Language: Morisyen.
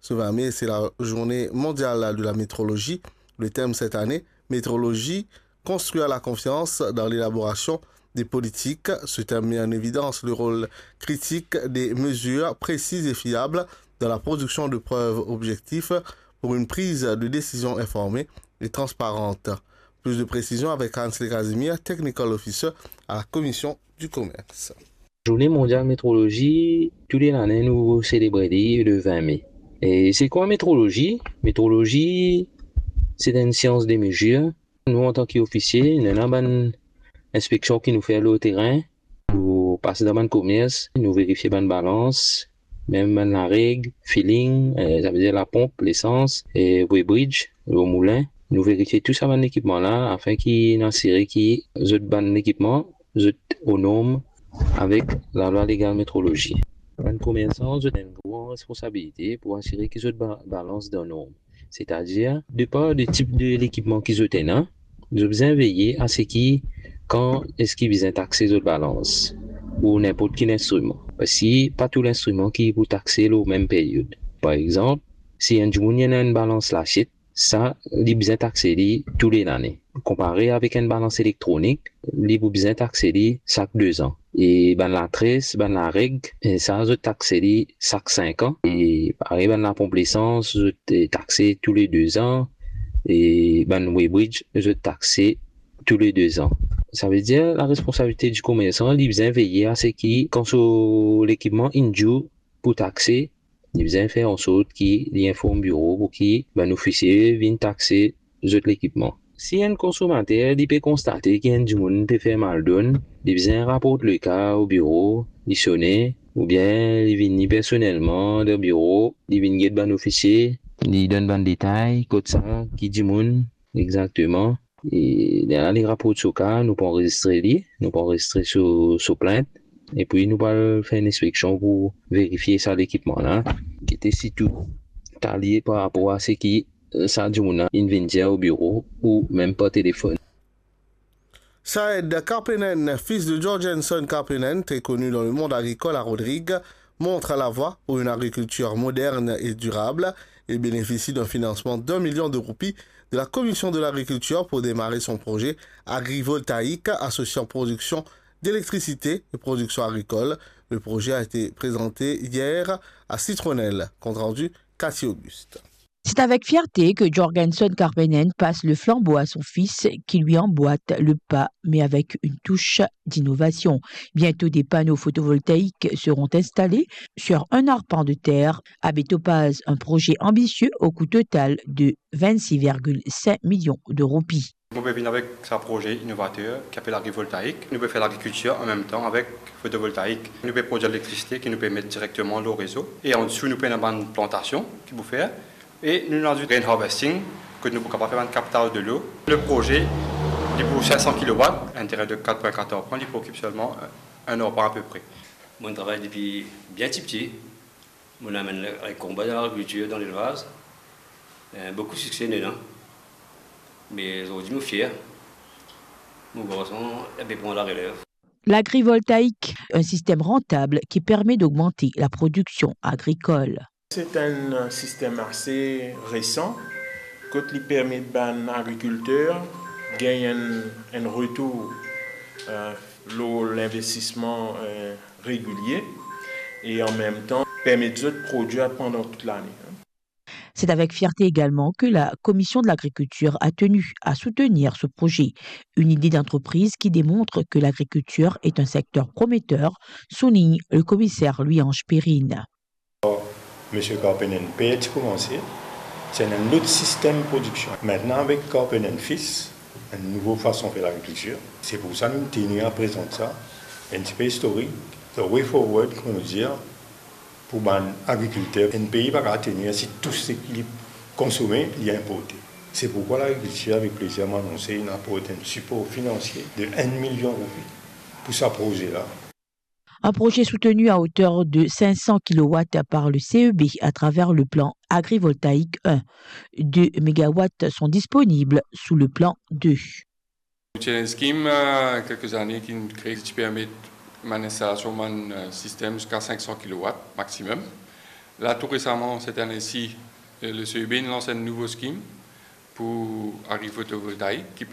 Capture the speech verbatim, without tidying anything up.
Le vingt mai, c'est la journée mondiale de la métrologie. Le thème cette année, métrologie, construire la confiance dans l'élaboration des politiques. Ce thème met en évidence le rôle critique des mesures précises et fiables dans la production de preuves objectives pour une prise de décision informée et transparente. Plus de précisions avec Hans Le Casimir, Technical Officer à la Commission du Commerce. Zourne Mondial Metrolozi, tou le lane nou selebre li le vin me. E se kwa metrolozi? Metrolozi, se enn sians de mezir. Nou, antan ki ofisie, nou ena bann inspeksion ki nou fer lor terin. Nou pas dan bann komers, nou verifie bann balans, mem bann lareg, filling, eh, savedir laponp, lesans, e weighbridge, lor moulin. Nou verifie tou sa bann lekipman la, afin ki nou asire ki zot bann lekipman, zot o norm avek lalwa legal metrolozi. Bann komersan, zot ena enn gran responsabilite pou asire ki zot ba-, balans dan norm. Setadir, depar de tip de lekipman ki zot ena, zot bizin veye a seki kan eski bizin takse zot balans, ou ninport ki linstriman. Parski pa tou linstriman ki pou takse lor mem period. Par exanp, si enn dimoun ena enn balans lasiet, sa, li bizin takse li tou le lane. Konpare avek enn balans elektronik, li pou bizin takse li sak de zan. E bann latres, bann lareg, e sa, zot takse li sak sink an. E parey bann laponp lesans, zot, eh, takse tou le de zan. E bann weighbridge, zot takse tou le de zan. Savedir, laresponsabilite di komersan, li bizin veye a seki kan so lekipman inn due pou takse, li bizin fer ansort ki li inform biro pou ki bann ofisie vinn takse zot lekipman. Si enn konsomater, li pe konstate ki enn dimoun pe fer maldonn, li bizin raport le ka o biro, li sone, oubien li vini personelman dan biro, li vinn get bann ofisie, li donn bann detay, kot sa, ki dimoun, exakteman. E lerla li raport so ka, nou pou anrezistre li, nou pou anrezistre so, so plint, epi nou pou al fer enn inspeksion pou verifie sa lekipman la, ki ete sitou talie par rapor a seki, eh, sa dimoun la inn vinn dir o biro ou mem par telefonn. Saed Karpenen, fils de Jorgensen Karpenen, très connu dans le monde agricole à Rodrigues, montre la voie pour une agriculture moderne et durable. Il bénéficie d'un financement d'un million de roupies de la Commission de l'Agriculture pour démarrer son projet agrivoltaïque associant production d'électricité et production agricole. Le projet a été présenté hier à Citronnelle. Compte rendu, Cathy Auguste. C'est avec fierté que Jorgensen Karpenen passe le flambeau à son fils qui lui emboîte le pas, mais avec une touche d'innovation. Bientôt, des panneaux photovoltaïques seront installés sur un arpent de terre. Abe Topaz, un projet ambitieux au coût total de vingt-six virgule cinq millions de roupies. Nou pe vinn avek sa proze inovater ki apel agrivoltaik. Nou pe fer lagrikiltir anmemtan avek fotovoltaik. Nou pe prodwir elektrisite ki nou pe met direkteman lor rezo. E andesou, nou pe ena bann plantasion ki pou fer. E nou ena zis rain harvesting, kot nou pou kapav fer bann kaptaz delo. Le proze, li pou sink san kilowat, enn terin de kat pwin kat arpan, li pou okip selman enn arpan apepre. Mo travay depi bien tipti. Mo amenn le, le konba dan lagrikiltir, dan lelvaz. Eh, boukou sikse dedan. Me zordi mo fier. Mo garson, li pe pran larelev. L'agrivoltaïque, un système rentable qui permet d'augmenter la production agricole. C'est un système assez récent, kot li permet bann agrikilter gagn enn, enn retour, euh, lor linvestisman, euh, regilie e anmemtan permet zot prodwir pandan tout lane. C'est avec fierté également que la Commission de l'Agriculture a tenu à soutenir ce projet, une idée d'entreprise qui démontre que l'agriculture est un secteur prometteur, souligne le commissaire Louis-Ange Perrine. Misie Karpenen per ti koumanse, se enn lot sistem prodiksion. Aster avek Karpenen Fils, enn nouvo fason fer lagrikiltir. Se pou sa nou teni a prezant sa, enn tipe istorik, the way forward, kouma nou dir, pou bann agrikilter. Enn pei pa kapav tenir si tou seki li konsome, li inporte. Se poukwa lagrikiltir, avek plezir, mo anonse, inn aport enn sipor finansie de enn milion roupi pou sa proze la. Un projet soutenu à hauteur de cinq cents kilowatts par le C E B à travers le plan agrivoltaïque un. Deux mégawatts sont disponibles sous le plan deux. Nou ti ena enn skim, eh, kelke zane ki nou kre, ki ti permet bann instalasion, bann, eh, sistem ziska sink san kilowat maximum. La, tou resaman, set ane si, eh, le CEB inn lans enn nouvo skim pou agrifotovoltaik ki